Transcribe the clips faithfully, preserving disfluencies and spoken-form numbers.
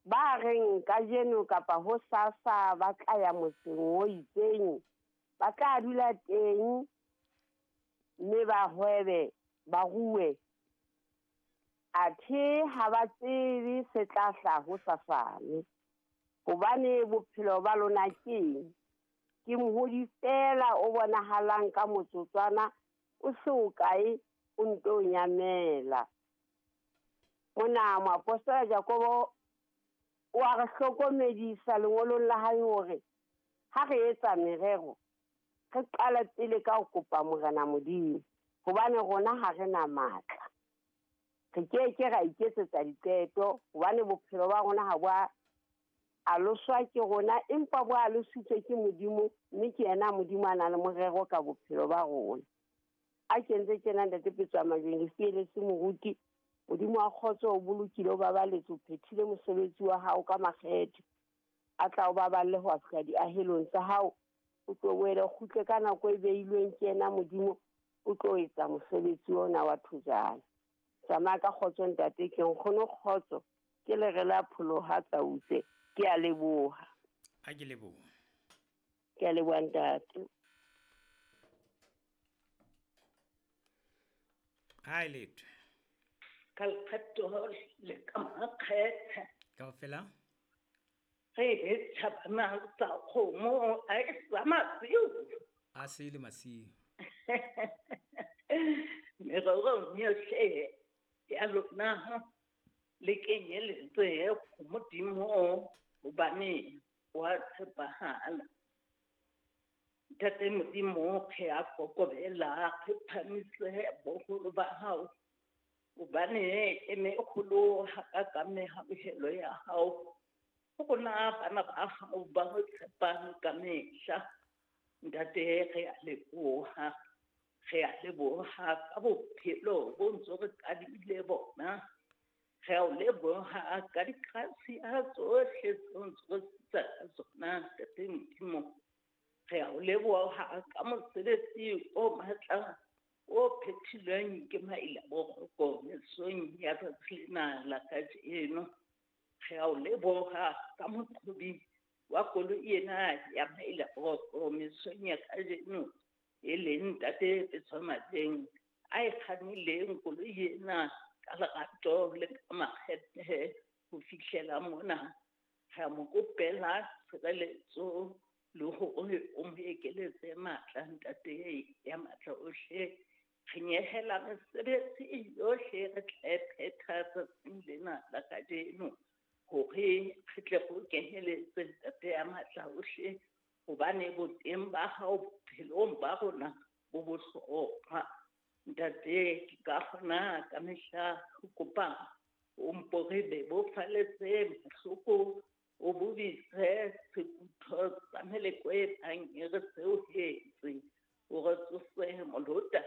Ba reng kajeno kapa hosasa ba tla ya motseng o itseng, ba tla dula teng mme ba hwebe, ba rue. Athe ha ba tsebe se tla hlaha hosasane, hobane bophelo ba lona keng? Ke mohodi feela o bonahalang ka motsotswana o se o kae o nto nyamela. Mona moapostola Jakobo o a re hlokomedisa lengolong la hae hore ha re etsa merero re qala pele ka ho kopa Morena Modimo, hobane rona ha re na matla. Re ke ke ra iketsetsa diqeto hobane bophelo ba rona ha bo a aloswa ke rona, empa bo alositswe ke Modimo, mme ke yena Modimo a nang le morero ka bophelo ba rona. A kentse tjena Ntate Petswa Majweng, lefiele se moruti. Modimo wa kgotso o bolokile, o babaletse, o phethile mosebetsi wa hao ka makgethe. A tla o baballe ho fihla diahelong tsa hao, o tlo boele o kgutle ka nako e beilweng ke yena Modimo, o tlo etsa mosebetsi ona wa thojana. Tsamaya ka kgotso ntate, ke nkgono kgotso, ke lere la pholoha tsautse. Ke a leboha. A ke leboha. Ke a leboha ntate. Ha e letho. Ka lekgetho le ka makgethe. Kaofela? Re e tjhabana tsa kgomo a e sa masiu. A se le masiu. Mererong yohle ya lona le kenyeletse ho Modimo hobane wa tshepahala. Ntate Modimo re a kokobela, re phamise boholo ba hao, hobane e meholo hakakang mehauhelo ya hao. Ho rona bana ba hao ba ho tshepang ka mehla. Ntate re a leboha, re a leboha ka bophelo bo ntso re kadimile bona. Re a o leboha ka dikrasia tsohle tseo ntso re sitsa ka tsona, Ntate Modimo. Re a o leboha ka mosebetsi o matla o phethilweng ke Mailaboroko mesong ya tsatsi lena la kajeno. Re a o leboha ka moqhobi wa koloi ena ya Mailaboroko mesong ya kajeno, e leng Ntate Petswa Majeng, a e kgannileng koloi ena ka lerato le ka makgethe ho fihlela mona. Re a mo kopela tshireletso le hore o mo ekeletse matla, Ntate ya matla ohle. Re nyehela mesebetsi yohle re tla e phetha tsatsing lena la kajeno, hore re tle go kenyeletse Ntate ya matla ohle, hobane boteng ba hao bophelong ba rona bo bohlokwa. Ntate, ke ka kgona ka mehla ho kopa o mpo re bebofaletse mahloko, o bobise sekutho sa meleko e tlang e re seohetse, o re tsose molota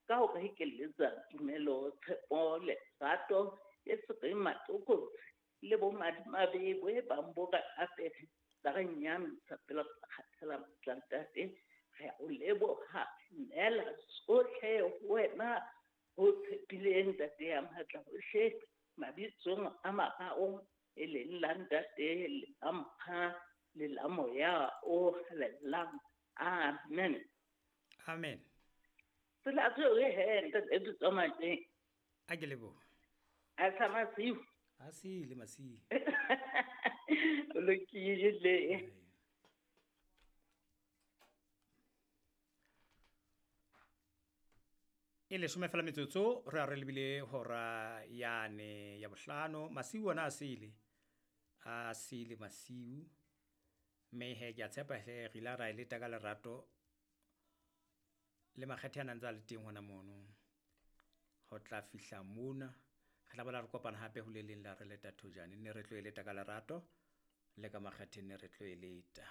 ka ho re ekeletsa tumelo, tshepo, lerato e se reng matlokotsi le bomadimabe bo e bang bo re apere tsa re nyahamisa pele re kgathela matla. Ntate, re a o leboha, neela tsohle ho wena ho tshepileng Ntate ya matla ohle, mabitsong a mararo e leng la Ntate, le la Mora, le la Moya o Halalelang. Amen. Amen. Tsela tseo he Ntate Petswa Majeng. A ke leboha. A sa masiu. A se le masiu. O lokile. E leshome fela metsotso re a re lebile hora yane ya bohlano. Masiu ona a sele, a sele masiu. Mme he ke a tshepa he re ile ra e leta ka lerato le makgethe a nang ntse a le teng hona mono. Ho tla fihla mona re tla boela re kopana hape ho le leng la re leta thojane. Ne re tlo e leta ka lerato le ka makgethe ne re tlo e leta.